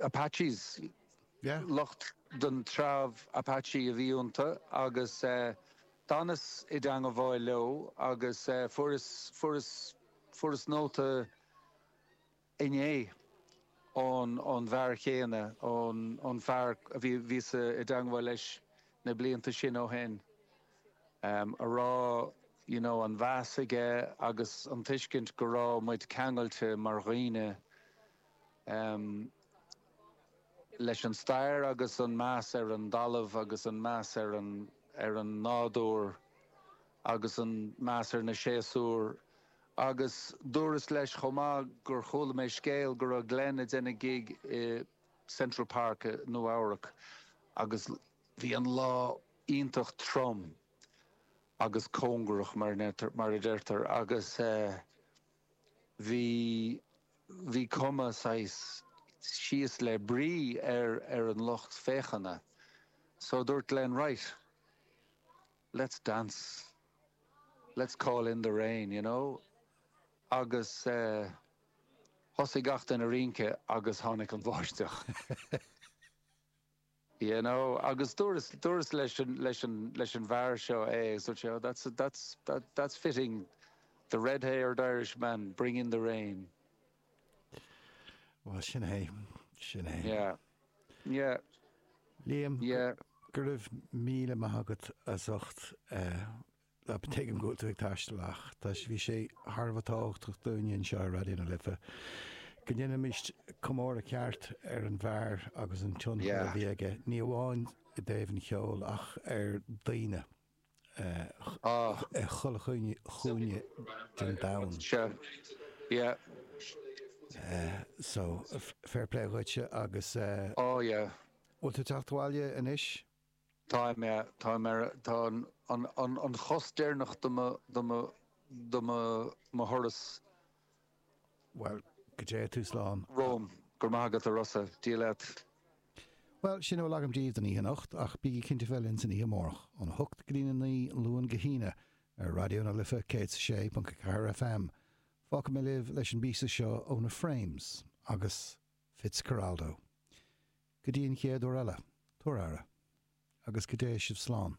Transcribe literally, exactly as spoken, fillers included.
Apaches Yeah. lucht den treibh Apache a bhí iontu agus eh, d'fhanas i dteagmháil leo agus eh, fuaireas fuaireas fuaireas nóta inné ón ón bhfear chéanna ón ón fear a bhí bhíos i dteagmháil leis na blianta sin ó shin. Um, a rá you know, an mheas aige agus an tuiscint go raibh muid ceangailte mar dhaoine um, leis an stair agus an meas ar an dtalamh agus an meas ar an ar an nádúr agus an meas ar na séasúir agus dúras leis chomh maith gur chuala mé scéal go raibh Glenn ag déanamh gig i Central Park i Nua Eabhrac agus bhí an lá iontach trom agus cóngarach mar mar a deirtear agus uh, bhí bhí cuma saghas síos le brí ar ar an lucht féachana. So dúirt Glenn right. Let's dance. Let's call in the rain, you know. Agus uh, thosaigh gach duine ag rince agus tháinig an bháisteach. You know, agus dúras dúras leis an leis an leis an bhfear seo é so seo that's that's that that's fitting the red-haired Irishman bring in the rain. Well sin é sin é. Yeah. Yeah. Liam Yeah. go raibh míle maith agat as ucht tuigim go tú ag taisteal ach tá bhí sé thar a bheith tábhachtach dúinne anseo ar Raidió na Life. Go ndéanfaimis comóradh ceart ar an bhfear agus an tionchar a Yeah. bhí aige ní amháin i dtaobh an cheoil ach ar daoine Ah, chuile chúinne den domhan. sure. Yeah. So fair play dhuitse agus uh, Oh yeah. bhfuil tú teacht abhaile anois? Tá mé tá mar tá an an an an chos deireanach do mo do mo do mo mo thuras Well go dté tú slán. Rome gur mágad a Rossa Dia leat. Well sin é agam daoibh don oíche anocht ach bígí cinnte linn san oíche amárach ón hocht go dtí a naoi Luan go hAoine ar Raidió na Life céad sé ponc ceathair FM. Fágfaidh mé libh leis an bpíosa seo ó na Frames agus Fitzcarraldo. Go dtí an chéad uair eile, tabhair aire, agus go dté sibh slán.